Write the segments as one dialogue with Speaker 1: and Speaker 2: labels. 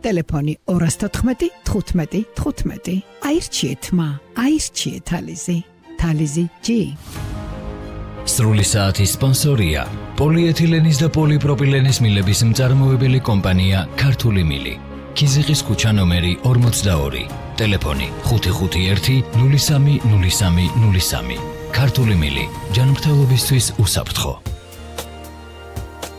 Speaker 1: Telefoni 214 15 15. Airchiet ma, airchiet Talizi. Talizi G.
Speaker 2: სრული საათის სპონსორია პოლიეთილენის და პოლიპროპილენის მილების მწარმოებელი კომპანია ქართული მილი. ქიზიყის ქუჩა ნომერი 42. ტელეფონი 551 03 03 03. ქართული მილი. ჯანმრთელობისთვის უსაფრთხო.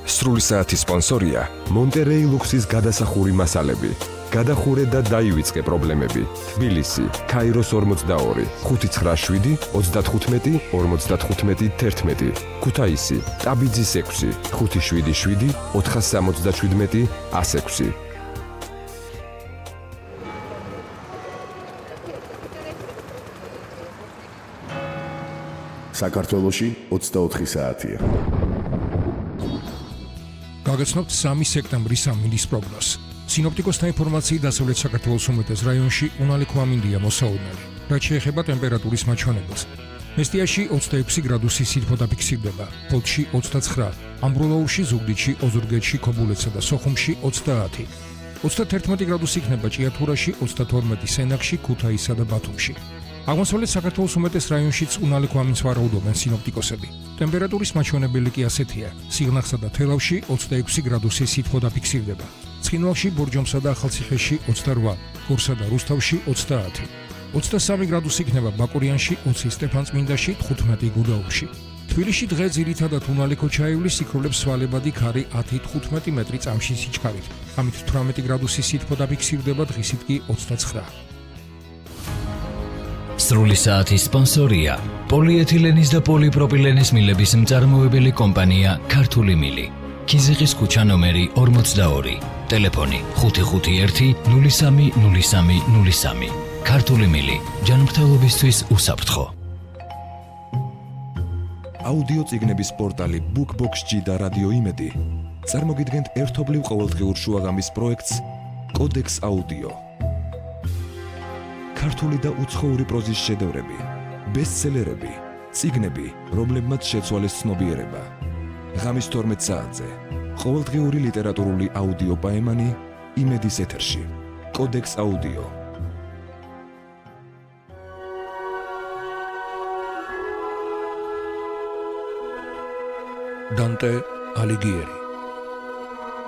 Speaker 3: სრული საათის სპონსორია მონტერეი ლუქსის გადასახური მასალები. გადახურე და დაივიწყე პრობლემები. თბილისი, ქაიროს 42, 597 35 55 11. ქუთაისი, ტაბიძის 6, 577 477 106.
Speaker 4: საქართველოში 24 საათია.
Speaker 5: გაგაცნობთ 3 სექტემბრის სამინდის პროგნოზს. სინოპტიკოსთა ინფორმაციით დასავლეთ საქართველოს უმეტეს რაიონში უნალი ქვამინდია მოსაოდნელი. რაც შეეხება ტემპერატურის მაჩვენებელს. მესტიაში 26 გრადუსი სითბო დაფიქსირდება, ფოთში 29, ამბროლაურში, ზუგდიდში, ოზურგეთში, ქობულეთსა და სოხუმში 30. 31 გრადუსი იქნება ჭიათურაში, 32 სენაკში, ქუთაისსა და ბათუმში. აღმოსავლეთ საქართველოს უმეტეს რაიონშიც უნალი ქვამინდს ვარაუდობენ სინოპტიკოსები. ტემპერატურის მაჩვენებელი კი ასეთია: სიღნაღსა და თელავში 26 გრადუსი სითბო დაფიქსირდება. ცხინვალში, ბორჯომსა და ახალციხეში 28, გორსა და რუსთავში 30. 23 გრადუსი იქნება ბაკურიანში, 20 სტეფანწმინდაში, 15 გუდაუთში. თბილისში დღე ძირითადად უნალი ქოჩაივლის სიქროლებს სვალებადი ქარი 10-15 მეტრი წამში სიჩქარით. ამით 18 გრადუსი სითბო დაფიქსირდება, დღისით კი 29.
Speaker 2: სრული საათის სპონსორია პოლიეთილენის და პოლიპროპილენის მილების მწარმოებელი კომპანია ქართული მილი. ქიზიყის ქუჩა ნომერი 42. ტელეფონი 551 03 03 03. ქართული მილი. ჯანმრთელობისთვის უსაფრთხო.
Speaker 3: აუდიო წიგნების პორტალი BookBox-G და რადიო იმედი წარმოგიდგენთ ერთობლივ ყოველდღიურ შუაღამის პროექტს კოდექს აუდიო. ქართული და უცხოური პროზის შედევრები, ბესტსელერები, წიგნები, რომლებმაც შეცვალეს ცნობიერება. ღამის 12 საათზე ყოველდღიური ლიტერატურული აუდიო პაემანი იმედის ეთერში. კოდექს აუდიო.
Speaker 5: დანტე ალიგიერი.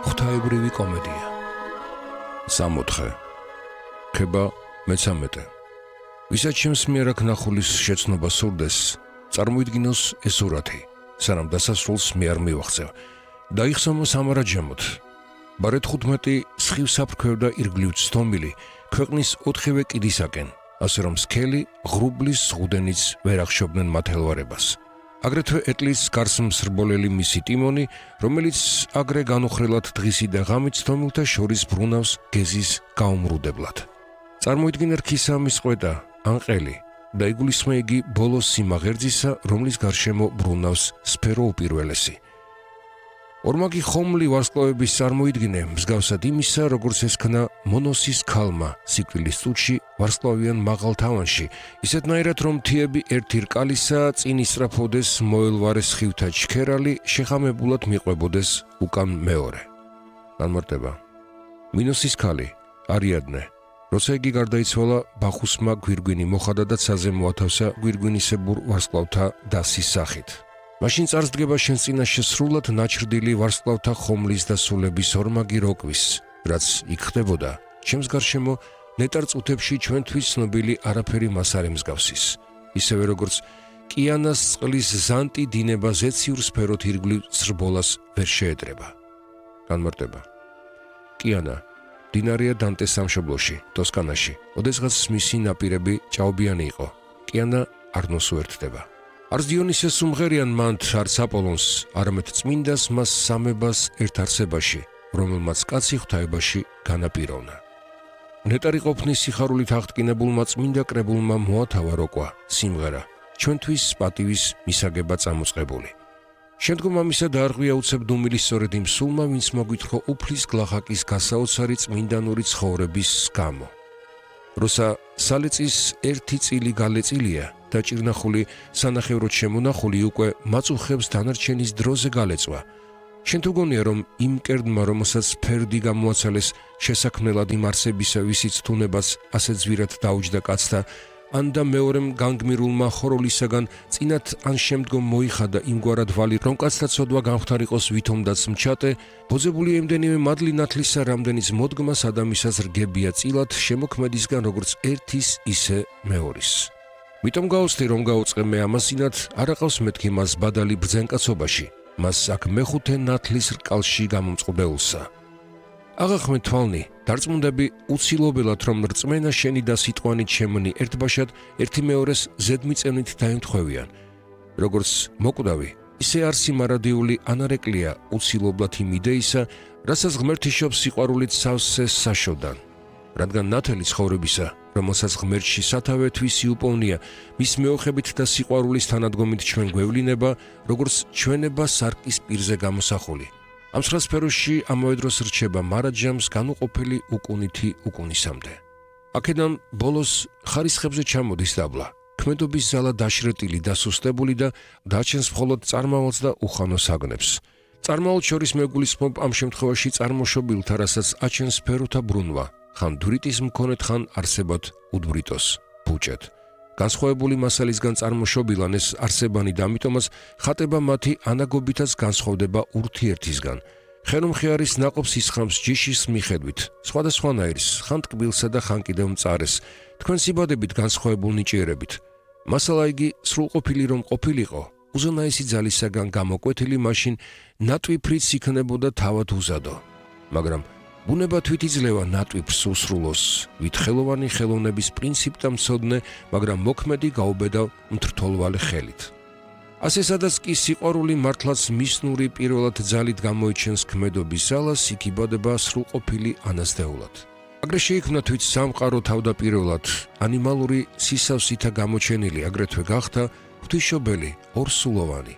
Speaker 5: ღვთაებრივი კომედია.
Speaker 6: 64. ხება მე-13. ვისაც ჩემს მიერ აქ ნახულის შეცნობა სურდეს, წარმოიდგინოს ეს სურათი, სანამ დასასრულს მე არ მივახცევ. დაიხსომო სამარაჯემოთ. ბარეთ 15 სხივსაფრქვევ და ირგვლივ ცდომილი ქვეყნის 4-ვე კიდისაკენ, ასე რომ სქელი, ღრუბლის ზღუდენიც ვერ ახშობდნენ მათ ელვარებას. აგრეთვე ეტლის გარს მსრბოლელი მისი ტიმონი, რომელიც აგრე განუხრელად დღისი და ღამით ცდომილთა შორის ბრუნავს გეზის გაუმრუდებლად. წარმოიდგინე რქისამის ყვეტა, ან ყელი და იგულისხმე იგი ბოლოს სიმაღერძისა, რომლის გარშემო ბრუნავს სფერო უპირველესი. ორმაგი ხომლი ვარსკვლავების წარმოიდგინე, მსგავსად იმისა, როგორც ესქნა მონოსის ქალმა სიკვდილის წუთში ვარსკვლავიან მაღალ თავანში, ისეთნაირად რომ მთიები ერთი რკალისა წინ ისწრაფოდეს მოელვარე სხივთა ჩქერალი, შეხამებულად მიყვებოდეს უკან მეორე. განმარტება. მინოსის ქალი, არიადნე. როცა იგი გარდაიცვალა, ბახუსმა გვირგვინი მოხადა და ცაზე მოათავსა გვირგვინისებურ ვარსკვლავთა დასის სახით. მაშინ წარსდგება შენს წინაშე სრულად ნაჩრდილი ვარსკვლავთა ხომლის და სულების ორმაგი როკვის, რაც იქ ხდებოდა, ჩემს გარშემო ნეტარ წუთებში ჩვენთვის ცნობილი არაფერი მას არ ემსგავსის. ისევე როგორც კიანას წყლის ზანტი დინება ზეციურ სფეროთ ირგვლივ სრბოლას ვერ შეეტრება. განმარტება. კიანა დინარია დანტეს სამშობლოში, ტოსკანაში. ოდესღაც მისი ნაპირები ჭაობიანი იყო. კიანა არ ნოსუერთდება. არც დიონისეს უმღერიან მანთ, არც აპოლონს, არამედ წმინდას მას სამებას ერთ არსებაში, რომელმაც კაცი ღვთაებაში განაპიროვნა. ნეტარი ყოფნის სიხარულით აღტკინებულმა წმინდა კრებულმა მოათავა როკვა, სიმღერა, ჩვენთვის პატივის მისაგება წამოწყებული. შემდგომ ამისა დაარღვია უცებ დუმილი სწორედ იმ სულმა, ვინც მოგვითხრა უფლის გლახაკის გასაოცარი წმინდანური ცხოვრების გამო. როცა სალეწის ერთი წილი გალეწილია და ჭირნახული სანახევროდ შემონახული უკვე მაწუხებს დანარჩენის დროზე გალეწვა, შენ თუ გონია რომ იმ კერდმა რომელსაც ფერდი გამოაცალეს შესაქმნელად იმ არსებისა ვისიც თუნებას ასე ძვირად დაუჯდა კაცთა ან და მეორემ განგმირულმა ხოროლისაგან წინათ ან შემდგომ მოიხადა იმგვარად ვალი რომ კაცთა ცოდვა გამხდარიყოს ვითომდაც მჩატე ბოძებული ემდენივე მადლი ნათლისა რამდენიც მოდგმას ადამიანს რგებია წილად შემოქმედისგან როგორც ერთის ისე მეორის მიტომ გაუცდი რომ გაუწყე მე ამასინად არაყავს მეთქი მას ბადალი ბრძენკაცობაში მას აქ მეხუთე ნათლის რკალში გამომწყობეულსა აღახმე თვალნი დარწმუნდები უცილობელად რომ რწმენა შენი და სიტყვანი ჩემნი ერთბაშად ერთი მეორეს ზედმიწევნით დაემთხვევიან როგორც მოკვდავი ისე არსი მარადიული ანარეკლია უცილობლად იმ იდეისა რასაც ღმერთიშობს სიყვარულით სავსე საშოდან რადგან ნათელი ცხოვრებისა რომელსაც ღმერთში სათავე თვისი უპოვნია მის მეოხებით და სიყვარულის თანადგომით ჩვენ გვევლინება როგორც ჩვენება სარკის პირზე გამოსახული ამ სფეროში ამავე დროს რჩება მარაჯამს განუყოფელი უკუნითი უკუნისამდე. აქედან ბოლოს ხარისხებზე ჩამოდის დაბლა. ქმედობის ზალა დაშრეტილი და სუსტებული და დაჩენს მხოლოდ წარმავალს და უხანოს აგნებს. წარმავალ შორის მეგულისხმობ ამ შემთხვევაში წარმოშობილთა, რასაც აჩენს სფეროთა ბრუნვა, ხან დვრიტის მქონეთ, ხან არსებად უდბრიტოს, ბუჭეთ. განსხვავებული მასალისგან წარმოშობილან ეს არსებანი და ამიტომაც ხატება მათი ანაგობითაც განსხვავდება ურთიერთისგან. ხერმხიარის ნაყოფს ისხამს ჯიშის მიხედვით, სხვადასხვანაირის, ხან ტკბილსა და ხან კიდევ მწარეს, თქვენ სიბადებით განსხვავებულ ნიჭიერებით. მასალა იგი სრულყოფილი რომ ყოფილიყო, უზენაესი ძალისაგან გამოკვეთილი მაშინ ნატვიფრიც იქნებოდა თავად უზადო. მაგრამ ბუნება თვით იძლევა ნატვიფრს უსრულოს, ვით ხელოვანი ხელოვნების პრინციპთა მცოდნე, მაგრამ მოქმედი გაუბედავ მთრთოლვალე ხელით. ასე სადაც კი სიყვარული მართლაც მისნური პირველად ძალით გამოიჩენს ქმედობის ზალას, იქ იბადება სრულყოფილი ანაზდეულად. აგრე შეიქმნა თვით სამყარო თავდაპირველად, ანიმალური სისავსითა გამოჩენილი, აგრეთვე გახდა ღვთისმშობელი, ორსულოვანი.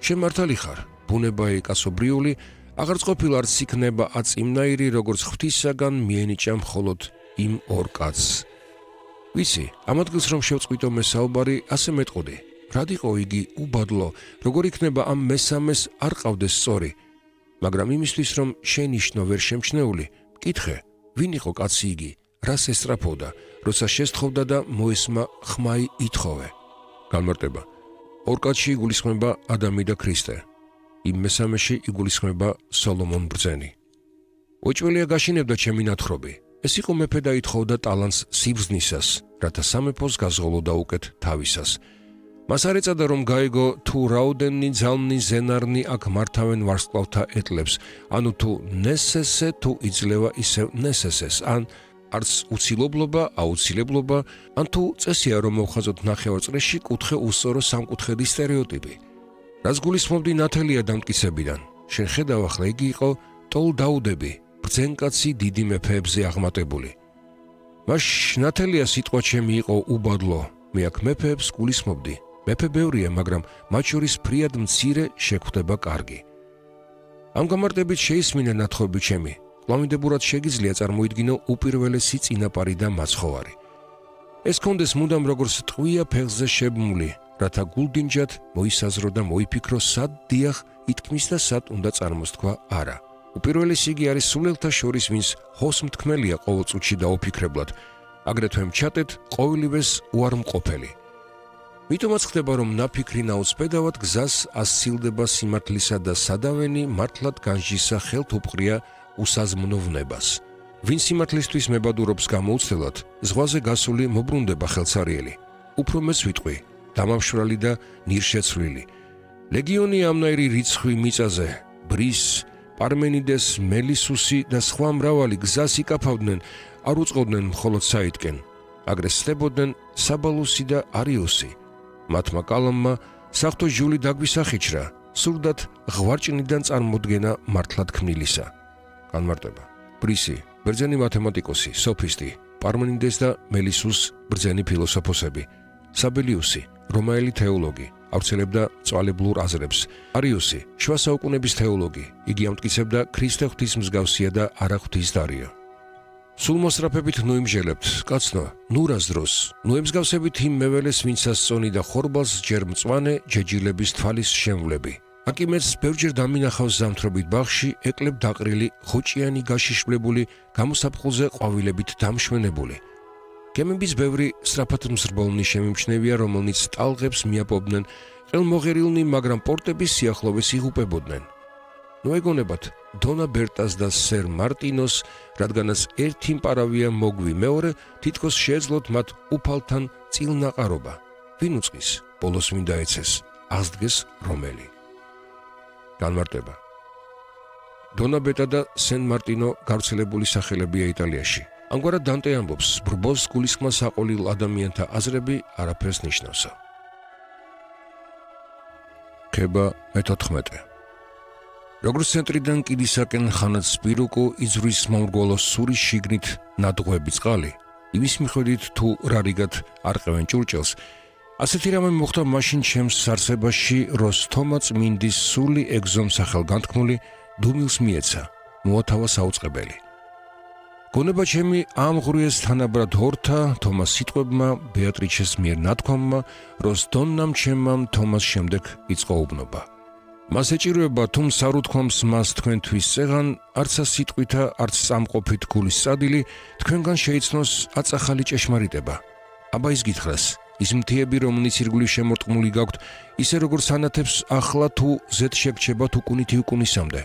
Speaker 6: შენ მართალი ხარ, ბუნება კაცობრიული, აღარც ყოფილა არც იქნება აწიმნაირი, როგორც ღვთისაგან მიენიჭა მხოლოდ იმ ორ კაცს. ვიცი, ამ ადგილს რომ შევწყვიტო მე საუბარი, ასე მეტყოდი. რად იყო იგი უბადლო, როგორ იქნება ამ მესამეს არ ყავდეს სწორი, მაგრამ იმისთვის რომ შენიშნო ვერ შემჩნეული, მკითხე, ვინ იყო კაცი იგი, რას ესწრაფოდა, როცა შესთხოვდა და მოესმა ხმაი ითხოვე. განმარტება. ორ კაცში იგულისხმება ადამი და ქრისტე. იმ მესამეში იგულისხმება სოლომონ ბრძენი. ოჭველია გაშინებდა ჩემი ნათხრობი. ეს იყო მეფე და ითხოვდა ტალანტს სიბრძნისას, რათა სამეფოს გაზღოლოდა უკეთ თავისას. მას არ ეწადა რომ გაიგო თუ რაოდენი ძალნი ზენარნი აქ მართავენ ვარსკვლავთა ეტლებს, ანუ თუ ნესესე თუ იძლევა ისევ ნესესეს, ან არც უცილობლობა, აუცილებლობა, ან თუ წესია რომ მოვხაზოთ ნახევარწრეში კუთხე უსწორო სამკუთხედის სტერეოტიპი. რაც გულისხმობდი ნათელია დამტკიცებიდან, შენ ხედავ ახლა იგი იყო ტოლ დაუდები, ბრძენკაცი დიდი მეფეებზე აღმატებული. მას ნათელია სიტყვა ჩემი იყო უბადლო, მე აქ მეფეებს გულისხმობდი. მეფე ბევრია, მაგრამ მათ შორის ფრიად მცირე შეგვხვდება კარგი. ამ გამარტებით შეისმინე ნათხრობი ჩემი, კვლავინდებურად შეგიძლია წარმოიდგინო უპირველესი წინაპარი და მაცხოვარი. ეს კონდეს მუდამ როგორც ტყვია ფეხზე შებმული, რათა გულდინჯად მოისაზრო და მოიფიქრო სად დიახ ითქმის და სად უნდა წარმოსთქვა არა. უპირველესი იგი არის სულელთა შორის, ვინც ჰოსმთქმელია ყოველწუთში და ოფიქრებლად, აგრეთვე მჩატეთ ყოველივეს უარმყოფელი. მითომაც ხდება რომ ნაფიქრი ნაუცბედავად გზას ასცილდება სიმართლისა და სადავენი მართლად განჯისა ხელთ უპყრია უსაზმნოვნებას. ვინ სიმართლისთვის მებადურობს გამოუცდელად, ზღვაზე გასული მობრუნდება ხელსარიელი. უფრო მეც ვიტყვი, დამამშვრალი და ნირშეცვლილი. ლეგიონი ამნაირი რიცხვი მიწაზე, ბრის, პარმენიდეს, მელისუსი და სხვა მრავალი გზას იკაფავდნენ, არ უწყობდნენ მხოლოდ საიტკენ. აგრე სდებოდნენ საბალუსი და არიუსი. მათმა კალამმა საღვთო ჟული დაგვისახიჩრა, სურდათ ღვარჭნიდან წარმოდგენა მართლად ქმნილისა. განმარტება. ბრისი, ბრძენი მათემატიკოსი, სოფისტი, პარმენიდეს და მელისუს ბრძენი ფილოსოფოსები. საბელიუსი, რომაელი თეოლოგი, ავრცელებდა წვალებლურ აზრებს. არიუსი, შუა საუკუნეების თეოლოგი, იგი ამტკიცებდა ქრისტე ღვთის მსგავსია და არა ღვთის დარიო. სულ მოსწრაფებით ნუ იმჟელებთ, კაცნო, ნურას დროს, ნუ ემსგავსებით იმ მეველეს, ვინცაც წონი და ხორბალს ჯერ მწვანე ჯეჯილების თვალის შემვლები. აკიმეც ბევრჯერ დამინახავს ზამთრობით ბაღში, ეკლებ დაყრილი, ხოჭიანი გაშიშვლებული, გამოსაფხულზე ყვავილებით დამშვენებული. გემების ბევრი სწრაფად მზრბოლნი შემიმჩნევია, რომელნიც ტალღებს მიაპობდნენ, ყელმოღერილნი, მაგრამ პორტების სიახლოვეს იღუპებოდნენ. ნოეგონებათ დონა ბერტას და სერ მარტინოს, რადგანაც ერთი მპარავია მოგვი, მეორე თითქოს შეეძლოთ მათ უფალთან წილნაყარობა. ვინ უწყის, ბოლოს ვინ დაეცეს, აღსდგეს რომელი. განმარტება. დონა ბერტა და სენ მარტინო გავრცელებული სახელებია იტალიაში. ამგვარად დანტე ამბობს, ბრბოს გულისხმა საყოლიլ ადამიანთა აზრები არაფერს ნიშნავსა. ქება მე-14. როგორც ცენტრიდან კიდისაკენ ხანად სპირუკო იძვრის მომრგვალო სურის შიგნით ნადღვები წყალი, იმის მიხედვით თუ რა რიგად არყევენ ჭურჭელს, ასეთი რამე მოხდა მაშინ ჩემს არსებაში, როსთომა წმინდის სული ეგზომ სახელგანთქმული დუმილს მიეცა, მოათავა საუწყებელი. გონება ჩემი ამღვრიეს თანაბრად ჰორთა, თომას სიტყვებმა, ბეატრიჩეს მიერ ნათქვამმა, როსდონნამ ჩემამ თომას შემდეგ იწყო უბნობა. მას ეჭირვება, თუ სარუთქვამს მას თქვენთვის წეღან, არც სიტყვითა, არც სამყოფით გულის სადილი, თქვენგან შეიცნოს აწახალი ჭეშმარიტება. აბა ის გითხრას, ის მთიები, რომლიც ირგვლივ შემორტყმული გაქვთ, ისე როგორც ანათებს ახლა თუ ზედ შეგჩებათ უკუნითი უკუნისამდე.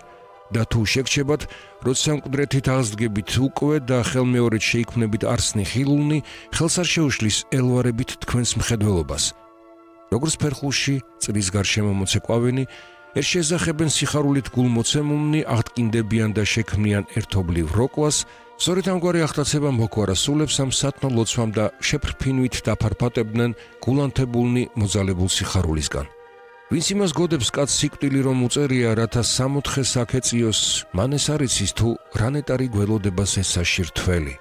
Speaker 6: და თუ შეგჩებათ, როცა მკვდრეთით აღსდგებით უკვე და ხელმეორედ შეიქმნებით არსნი ხილულნი, ხელს არ შეუშლის ელვარებით თქვენს მხედველობას. როგორც ფერხულში წრის გარშემო მოცეკვავენი, ერთ შეესახებენ სიხარულით გულმოცემულნი, აღტკინდებიან და შექმნიან ერთობლივ როკვას, სწორედ ამგვარი აღტაცება მოგვარა სულებს ამ სათნო ლოცვამ და შეფრფინვით დაფარფატებდნენ გულანთებულნი მოძალებულ სიხარულისგან. ვინც იმას გოდებს კაც სიკვდილი რომ უწერია, რათა სამოთხე საქეწიოს, მან ეს არ იცის თუ რანეტარი გველოდებას ესაში რთველი.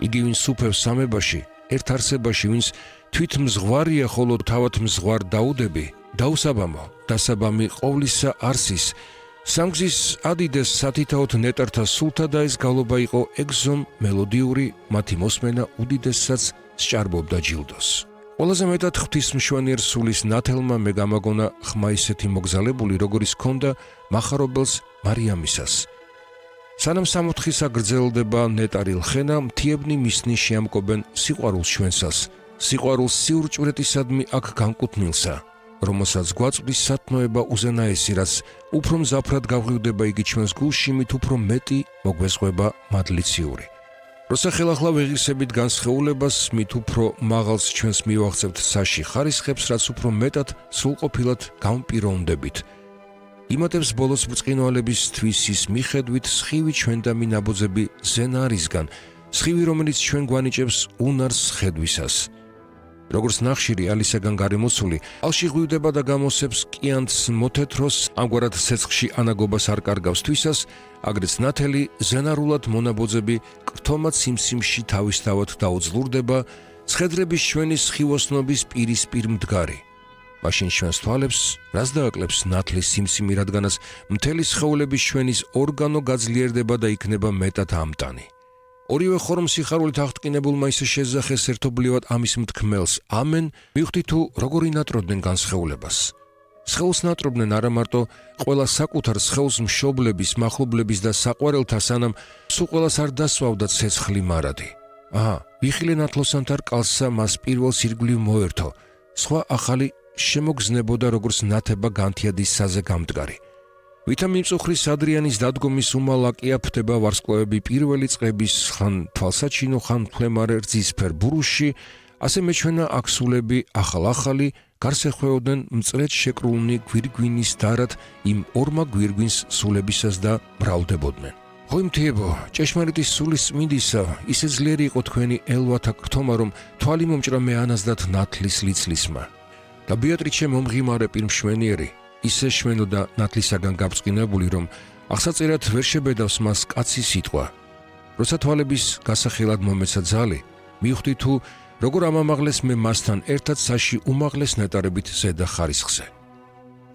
Speaker 6: იგი ვინც სუფევს სამებაში, ერთ არსებაში, ვინც თვით მზღვარია, ხოლო თავად მზღვარ დაუდები, დაუსაბამო, დასაბამი ყოვლისა არსის, სამგზის ადიდეს სათითაოდ ნეტართა სულთა და ეს გალობა იყო ეგზომ მელოდიური, მათი მოსმენა უდიდესაც სჭარბობდა ჯილდოს. ყველაზე მეტად ღვთისმშვენიერ სულის ნათელმა მე გამაგონა ხმა ისეთი მოგზალებული, როგორიც ჰქონდა მახარობელს მარიამისას. სანამ სამოთხისა გრძელდება ნეტარილ ხენა, მთიებნი მისნი შეამკობენ სიყვარულს ჩვენსას, სიყვარულს სიურჭვრეტისადმი აქ განკუთვნილსა, რომელსაც გვაწვდის სათნოება უზენაესი, რაც უფრო მზაფრად გავღვივდება იგი ჩვენს გულში, მით უფრო მეტი მოგვესყვება მადლიციური. როცა ხელახლა ვეღირსებით განსხეულებას, მით უფრო მაღალს ჩვენს მივაღწევთ საში ხარისხებს, რაც უფრო მეტად სრულყოფილად გამპიროვნდებით. იმატებს ბოლოს ბრწყინვალების თვისის მიხედვით სხივი ჩვენდამი ნაბოძები ზენარისგან, სხივი რომელიც ჩვენ გვანიჭებს უნარს ხედვისას. როგორც ნახშირი ალისაგან გარემოცული, ალში ღვივდება და გამოსებს კიანთს მოთეთროს, ამგვარად ცეცხლში ანაგობას არ კარგავს თვისას, აგრეთს ნათელი ზენარულად მონაბოძები კრთომად სიმსიმში თავისთავად დაუძლურდება, ცხედრების ჩვენი სხივოსნობის პირისპირ მდგარი. მაშინ ჩვენს თვალებს რას დააკლებს ნათლის სიმსიმი, რადგანაც მთელი სხეულების ჩვენის ორგანო გაძლიერდება და იქნება მეტად ამტანი. ორივე ხორმ სიხარულით აღტკინებულმა ისე შეძახეს ერთობლივად ამის მთქმელს, ამენ, მივხვდი თუ როგორ ინატრობდნენ განსხეულებას. სხეულს ნატრობდნენ არა მარტო ყველა საკუთარ სხეულს მშობლების, მახლობლების და საყვარელთა, სანამ სულ ყველას არ დასვავდა ცეცხლი მარადი. ვიხილე ნათლოსანთა რკალსა მას პირველს ირგვლივ მოერთო, სხვა ახალი შემოგზნებოდა როგორც ნათება განთიადის საზე გამდგარი. ვითა მიმწუხრის ადრიანის დადგომის უმალაკია ფდება ვარსკვლავები პირველი წყების ხან თვალსაჩინო, ხან ფლემარე რძისფერ ბურუსში, ასე მეჩვენა აქსულები ახალ-ახალი გარს ეხვეოდნენ მწრეთ შეკრულნი გვირგვინის დარად იმ ორმა გვირგვინს სულებისას და მრავლდებოდნენ. ხო იმთიებო, ჭეშმარიტის სულის წმინდისა, ისე ძლიერი იყო თქვენი ელვათა კრთომა, რომ თვალი მომჭრა მე ანაზდათ ნათლის ლიცლისმა. და ბეატრიჩე მომღიმარე პირმშვენიერი, ისე შვენოდა ნათლისაგან გაბრწყინებული, რომ აღსაწერად ვერ შებედავს მას კაცი სიტყვა. როცა თვალების გასახელად მომეცა ძალი, მივხვდი თუ როგორ ამამაღლეს მე მასთან ერთად საში უმაღლეს ნეტარებით ზედა ხარისხზე.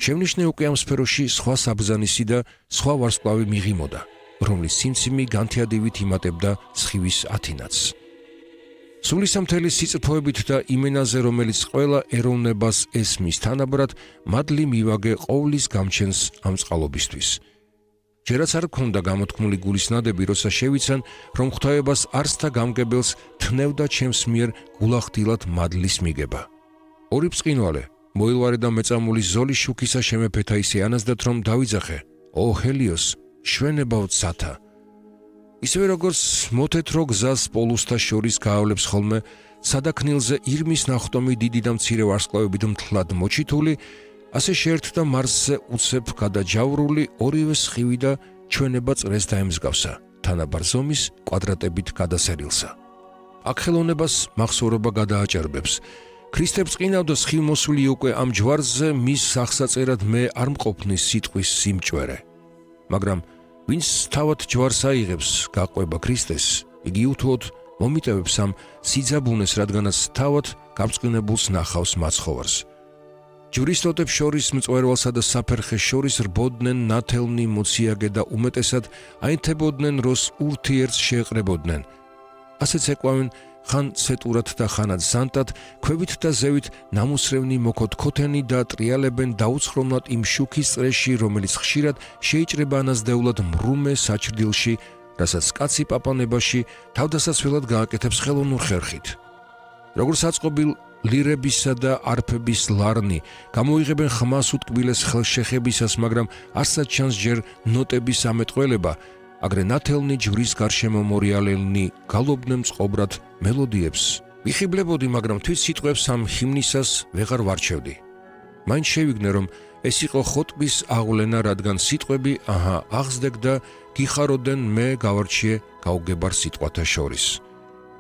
Speaker 6: შევნიშნე უკვე ამ სფეროში სხვა საბრძანისი და სხვა ვარსკვლავი მიღიმოდა, რომლის სიმციმი განთიადივით იმატებდა სხივის ათინათს. სულისამთელი სიწრფოებით და იმენაზე, რომელიც ყველა ეროვნებას ესმის თანაბრად, მადლი მივაგე ყოვლის გამჩენს ამ წყალობისთვის. ჯერაც არ გქონდა გამოთქმული გულის ნადები, როცა შევიცან, რომ ღვთაებას არსთა გამგებელს თნევდა ჩემს მიერ გულახდილად მადლის მიგება. ორი ბრწყინვალე, მოილვარე და მეწამული ზოლის შუქისა შემეფეთა ისე ანაზდათ, რომ დავიძახე, ო ჰელიოს, შვენებავთ სათა. ისევე როგორც მოთეთრო გზას პოლუსთა შორის გაავლებს ხოლმე, სადაქნილზე ირმის ნახტომი დიდი და მცირე ვარსკვლავებით მთლად მოჩითული, ასე შეერთდა მარსზე უცებ გადაჯავრული ორივე სხივი და ჩვენება წრეს დაემსგავსა, თანაბარ ზომის კვადრატებით გადასერილსა. აქ ხელოვნებას მახსოვრობა გადააჭარბებს. ქრისტე ბრწყინავდა სხივმოსული უკვე ამ ჯვარზე მის სახსაწერად მე არ მყოფნის სიტყვის სიმჭვერე. მაგრამ ვინც თავად ჯვარს აიღებს, გაყვება ქრისტეს, იგი უთუოდ მომიტევებს ამ სიძაბუნეს, რადგანაც თავად გაბრწყინებულს ნახავს მაცხოვარს. ჯურისტოტებს შორის მწვერვალსა და საფერხეს შორის რბოდნენ ნათელნი მოციაგე და უმეტესად აინთებოდნენ, როს ურთიერთს შეეყრებოდნენ. ასეც ეკვავენ ხან ცეტურად და ხანად ზანტად, ქვევით და ზევით ნამუსრევნი მოქოთქოთენი და ტრიალებენ დაუცხრომლად იმ შუქის წრეში, რომელიც ხშირად შეიჭრება ანაზდეულად მრუმე საჩრდილში, რასაც კაცი პაპანებაში თავდასაცველად გააკეთებს ხელოვნურ ხერხით. როგორც აწყობილ ლირებისა და არფების ლარნი, გამოიღებენ ხმას უტკბილეს ხელშეხებისას, მაგრამ არცად ჩანს ჯერ ნოტების ამეტყველება, აგრე ნათელნი ჯვრის გარშემო მორიალელნი გალობდნენ წყობრად მელოდიებს. ვიხიბლებოდი, მაგრამ თვით სიტყვებს ამ ჰიმნისას ვეღარ ვარჩევდი. მაინც შევიგნე, რომ ეს იყო ხოტბის აღვლენა, რადგან სიტყვები აღზდეგ და გიხაროდენ მე გავარჩიე გაუგებარ სიტყვათა შორის.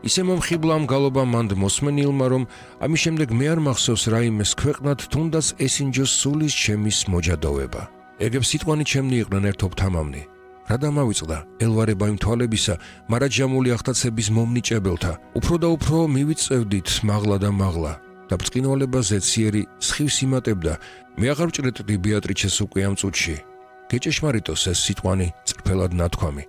Speaker 6: ისე მომხიბლა ამ გალობა მანდ მოსმენილმა, რომ ამის შემდეგ მე არ მახსოვს რაიმეს ქვეყნად, თუნდაც ესინჯოს სულის ჩემის მოჯადოვება. ეგებს სიტყვანი ჩემნი იყვნენ ერთობ თამამნი. რა დამავიწყდა ელვარება იმ თვალებისა, მარაჯამული ახტაცების მომნიჭებელთა, უფრო და უფრო მივიწევდით მაღლა და მაღლა და ბრწყინვალება ზეციერი სხივს იმატებდა. მე აღარ ვჭრეტდი ბეატრიჩეს უკვე ამ წუთში. გეჭეშმარიტოს ეს სიტყვანი წრფელად ნათქვამი.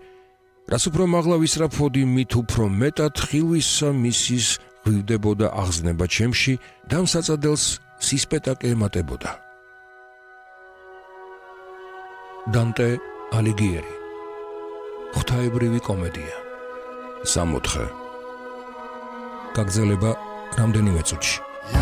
Speaker 6: რას უფრო მაღლა ვისრაფოდი, მით უფრო მეტად ხილვისა მისის ღვივდებოდა აღზნება ჩემში და ამ საწადელს სისპეტაკე ემატებოდა. დანტე ალიგიერი. ღვთაებრივი კომედია.
Speaker 4: 64.
Speaker 5: გაგრძელება რამდენიმე წუთში.